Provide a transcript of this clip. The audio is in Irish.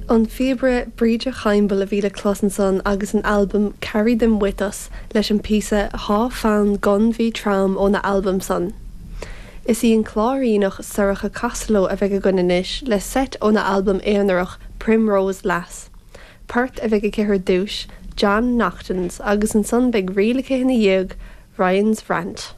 An phíobaire Bríde Chaimbeul a bhí le clos ansan agus an albam Carry Them With Us leis an píosa Thá Fonn Gon Bhí Trom óna albam san. Is í an Cláiríneach Sorcha Costello a bheidh againn anois le seit óna albam aonarach Primrose Lass. Port a bheidh aici ar dtús, John Naughton's, agus ansan beidh ríl aici ina dhiaidh, Ryan's Rant.